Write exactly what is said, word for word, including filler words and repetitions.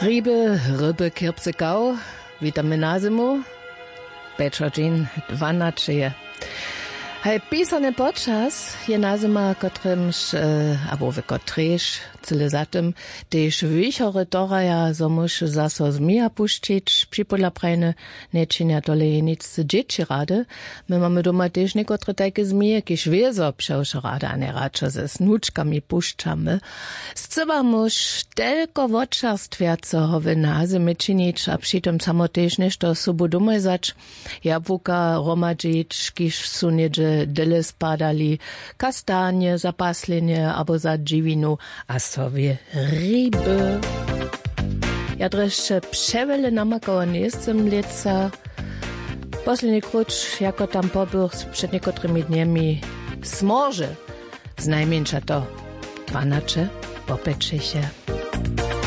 Hriby, ryby, kirpcy, kał. Witamy na zymu. Pječor dźeń dwanaće je. Haj, pisany počas je na zyma, kotrymž, abo w kotrejž cyle za tym, tež wichory toraja, zo móž zaso zmija pušćić, připodla prajny, nječinja tole jeničce dźěći rady. My mamy doma tež někotre tajke zmije, kiž wězo přewšo rady a njeradšo ze snučkami pušćamy. Scyba móž telko wočerstwjaceho w nazymy činić a při tym samo tež něšto sobu domoj wzać, jabłuka hromadźić, kiž su něhdźe dele spadali, kastanje za paslenje abo za dźiwinu a so w hriby. Ja drješće přewjele namakało njejsym lětsa. Posledni króć jako tam pobył před někotrymi dnjemi smorže, znajmjeńša to dwanaće popjećeše.